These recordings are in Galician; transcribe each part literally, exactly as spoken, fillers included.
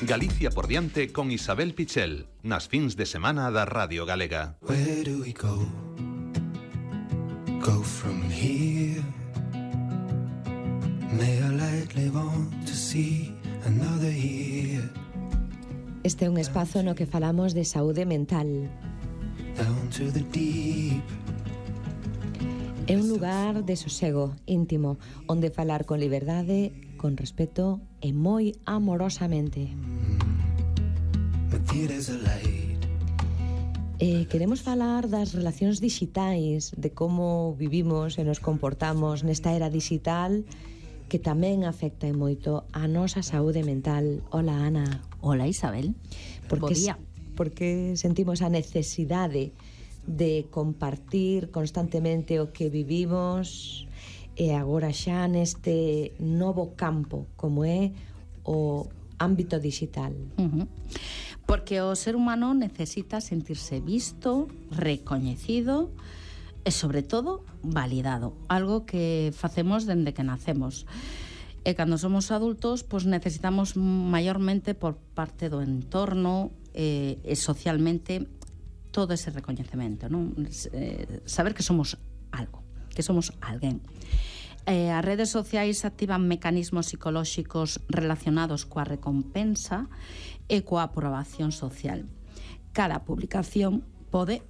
Galicia por diante con Isabel Pichel, nas fins de semana da Radio Galega. Where do we go? Go from here. May I lightly want to see another year. Este é un espazo no que falamos de saúde mental. Down to the deep. É un lugar de sosego íntimo, onde falar con liberdade, con respeto e moi amorosamente. But there's a light. E queremos falar das relacións digitais, de como vivimos e nos comportamos nesta era digital que tamén afecta e moito a nosa saúde mental. Hola, Ana. Hola, Isabel. Porque, Bo día. Porque sentimos a necesidade de compartir constantemente o que vivimos e agora xa neste novo campo como é o ámbito digital. Uh-huh. Porque o ser humano necesita sentirse visto, recoñecido e, sobre todo, validado. Algo que facemos dende que nacemos. E cando somos adultos, pois necesitamos maiormente por parte do entorno e, e socialmente todo ese recoñecemento, non? Eh, saber que somos algo, que somos alguén. Eh, as redes sociais activan mecanismos psicolóxicos relacionados coa recompensa e coa aprobación social. Cada publicación pode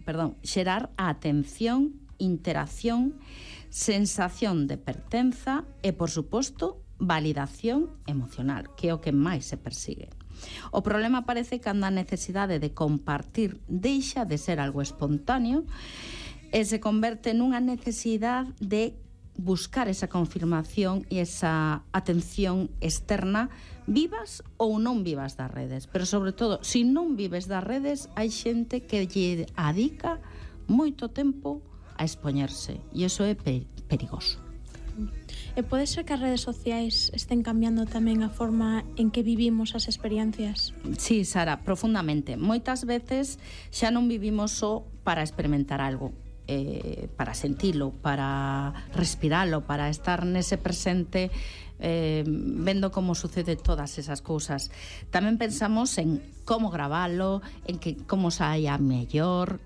perdón, xerar a atención, interacción, sensación de pertenza e, por suposto, validación emocional, que é o que máis se persigue. O problema aparece cando a necesidade de compartir deixa de ser algo espontáneo e se converte nunha necesidade de buscar esa confirmación e esa atención externa, vivas ou non vivas das redes. Pero, sobre todo, se non vives das redes, hai xente que lle adica moito tempo a expoñerse, e iso é perigoso. E pode ser que as redes sociais estén cambiando tamén a forma en que vivimos as experiencias? Sí, Sara, profundamente. Moitas veces xa non vivimos só para experimentar algo, eh, para sentilo, para respiralo, para estar nese presente eh, vendo como sucede todas esas cousas. Tamén pensamos en como gravalo, en que como saia mellor,